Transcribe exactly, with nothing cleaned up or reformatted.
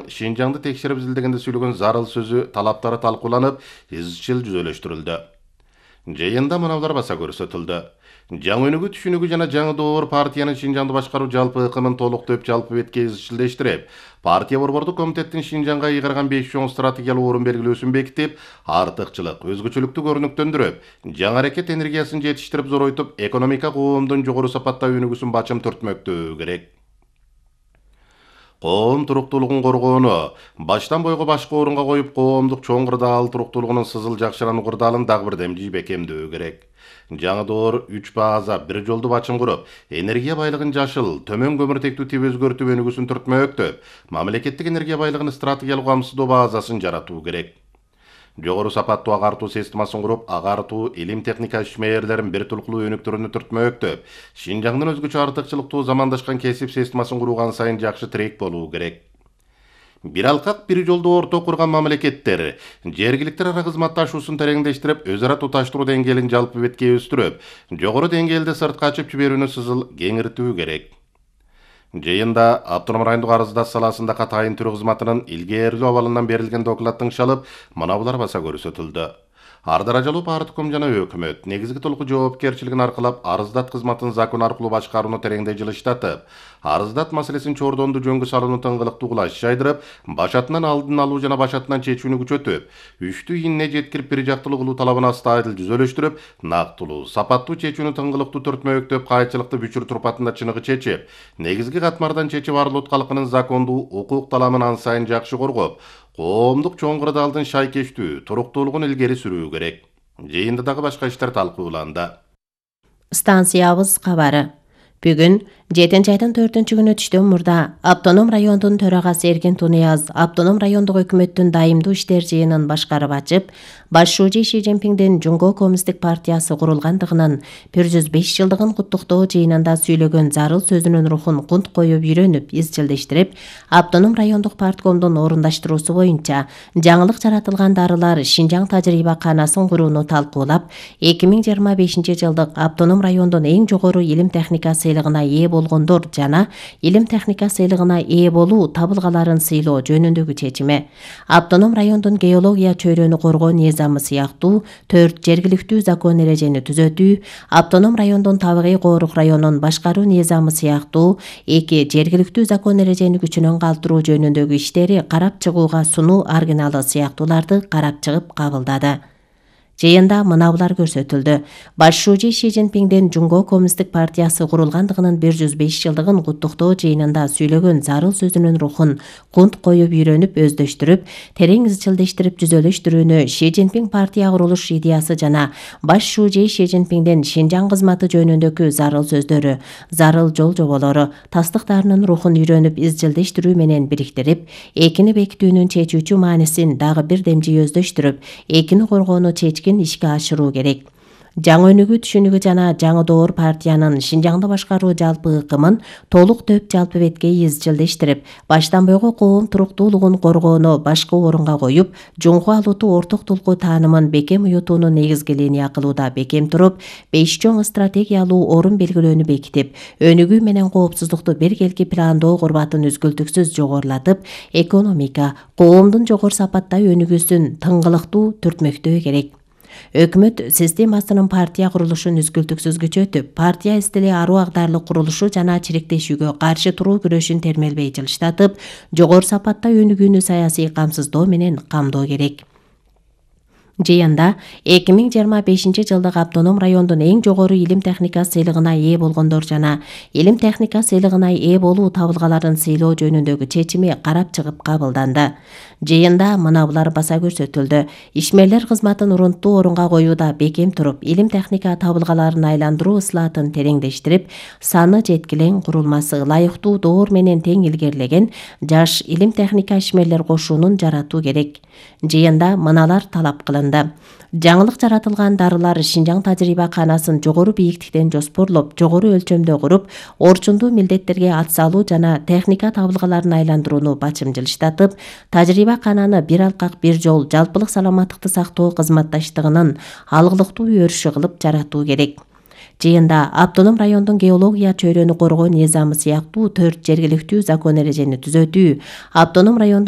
Шинжаңды текшерип изилдегенде сүйлөгөн зарыл сөзү талаптары талкууланып, изчил жүзөлөштүрүлдү. Жыйында мыналар баса көрсөтүлдү. Жаңы өнүгүү түшүнүгү жана жаңы доор партиянын Шинжаңды башкаруу жалпы ыкымын толуктоп жалпы бетке изчилдештирип, партия борбордук комитеттин Шинжаңга ыйгарган беш чоң стратегиялык орун белгилөөсүн бекитип, артыкчылык, өзгөчөлүктү көрүнүктөндүрүп, жаңы аракет энергиясын жетиштирип зоройтуп, экономика коомдун жогору сапаттагы өнүгүүсүн бачым түртмөктөө керек. Коом туруктуулугун коргоону баштан бойго башкы орунга коюп, коомдук чоң кырдаал туруктуулугунун сызыл жакшырануу кырдаалын дагы бир демжи бекемдөө керек. Жаңы доор үч база бир жолду бачым куруп, энергия байлыгын жашыл, төмөн көмүртектүү тип өзгөртүп өнүгүүсүн түртмөктөп, мамлекеттик энергия байлыгын стратегиялык камсыздоо базасын жаратуу керек. Жогору сапаттуу агартуу системасын куруп, агартуу, илим техника ишмерлерин бир тулкулуу өнүктүрүүнү түртмөктөп, Шинжаңдын өзгөчө артыкчылыктуу замандашкан кесип системасын курууган сайын жакшы тирек болуу керек. Бир алкак бир жолду орто курган мамлекеттер жергиликтер ара кызматташуусун тереңдештирип, өз ара туташтыруу деңгээлин жалпы бетке өстүрүп, жогору деңгээлде сыртка ачып жиберүүнү сызыл кеңиртүү керек. Жыйында автоном райондук арыздат саласында катайын түрү кызматынын илгээрлүү абалынан берилген докладдын шалып, мынабулар баса көрсөтүлдү. Ар даражалуу партком жана өкмөт негизги толук жоопкерчилигин аркылап, арыздат кызматын закон аркылуу башкарууну тереңдей жылыштатып, арыздат маселесин чордонду жөнгө салууну тыңгылыктуу кылаш жайдырып, башатынан алдын алуу жана башатынан чечүүнү күчөтүп, үчтүү ийине жеткирип бир жактылуу кылуу талабын астайыл жүзөлөштүрүп, нактылуу, сапаттуу чечүүнү тыңгылыктуу түртмөктөп, кайчылыкты бүчүр турпатында чыныгы чечип, негизги катмардан чечип Арлут калкынын закондуу укук таламын ан сайын жакшы коргоп, коомдук чоң кырдаалдын шайкештүү, туруктуулугун илгери сүрүү керек. Жыйында дагы башка иштер талкууланды. Станциябыз кабары. Бүгүн жетинчи айдын төртүнчү күнү түштөн мурда Автоном райондун төрагасы Эркин Тунияз Автоном райондук өкмөттүн дайымдуу иштер жыйынын башкарып ачып, башчы Ши Цзиньпиңдин Жумго Коммунисттик партиясы курулгандыгынын бир жүз беш жылдыгын куттуктоо жыйынында сүйлөгөн зарыл сөзүнүн рухун кунт коюп үйрөнүп, изчилдештирип, Автоном райондук парткомдун орундаштыруусу боюнча жаңылык жаратылган дарылар Шинжаң тажрыйба канасын курууну талкуулап, эки миң жыйырма бешинчи жылдык Автоном райондун эң жогору илим техника сыйлыгына ээ болгондор жана илим техника сыйлыгына ээ болуу табылгаларын сыйлоо жөнүндөгү чечими. Автоном райондун геология чөйрөнү коргоо низамы сыяктуу төрт жергиликтүү закон эрежени түзөтүү, Автоном райондун табигый коорук районун башкаруу низамы сыяктуу эки жергиликтүү закон эрежени күчүнөн калтыруу жөнүндөгү иштери карап чыгууга сунуу аргиналы сыяктууларды карап чыгып кабылдады. Жыйында мынабулар көрсөтүлдү. Башчы Ши Цзиньпиңдин Жумго Коммунисттик партиясы курулгандыгынын бир жүз беш жылдыгын куттуктоо жыйынында сүйлөгөн зарыл сөзүнүн рухун кунт коюп үйрөнүп, өздөштүрүп, терең изчилдештирип жүзөлөштүрүүнү Ши Цзиньпиң партия курулуш идеясы жана башчы Ши Цзиньпиңдин Шинжаң кызматы жөнүндөгү зарыл сөздөрү, зарыл жол жоболору, тастыктарынын рухун үйрөнүп, изчилдештирүү менен бириктирип, экини бекитүүнүн чечүүчү маанисин дагы бир демжи өздөштүрүп, экини коргоону чечкен ишке ашыруу керек. Жаңы өнүгүү түшүнүгү жана жаңы доор партиянын Шинжаңды башкаруу жалпы ыкымын толук төп жалпы бетке изчилдештирип, баштан бойго коом туруктуулугун коргоону башкы орунга коюп, жумгу алууту орток тулкуу таанымын бекем уютууну негизги линия кылууда бекем туруп, беш чоң стратегиялуу орун белгилөөнү бекитип, өнүгүү менен коопсуздукту биргелки пландоо курбатын үзгүлтүксүз жогорулатып, экономика, коомдун жогору сапатта өнүгүүсүн тыңгылыктуу түртмөктөө керек. Өкмөт системасынын партия курулушун үзгүлтүксүз күчөтүп, партия стили аруу агдарлык курулушу жана чириктешүүгө каршы туруу күрөшүн термелбей жылыштатып, жогору сапатта өнүгүүнү саясий камсыздоо менен камдоо керек. Жыйында эки миң жыйырма бешинчи жылдык Автоном райондун эң жогору илим техника сыйлыгына ээ болгондор жана илим техника сыйлыгына ээ болуу табылгаларын сыйлоо жөнүндөгү чечими карап чыгып кабылданды. Жыйында мынабулар баса көрсөтүлдү. Ишмерлер кызматын урунттуу орунга коюуда бекем туруп, илим техника табылгаларын айландыруу ыслаатын тереңдештирип, саны жеткилең курулмасы ылайыктуу доор менен тең илгерилеген жаш илим техника ишмерлер кошуунун жаратуу керек. Жыйында мыналар талап кылынды. Жаңылык жаратылган дарылар Шинжаң тажрыйба канасын жогору бийиктиктен жоспорлоп, жогору өлчөмдө куруп, орчундуу милдеттерге ат салуу жана техника табылгаларын айландырууну бачым жылыштатып, тажрыйба кананы бир алкак бир жол жалпылык саламаттыкты сактоо кызматташтыгынын алгылыктуу өрүшү кылып жаратуу керек. Жыйында Автоном райондун геология чөйрөнү коргоо низамы сыяктуу төрт жергиликтүү закон эрежени түзөтүү, Автоном райондун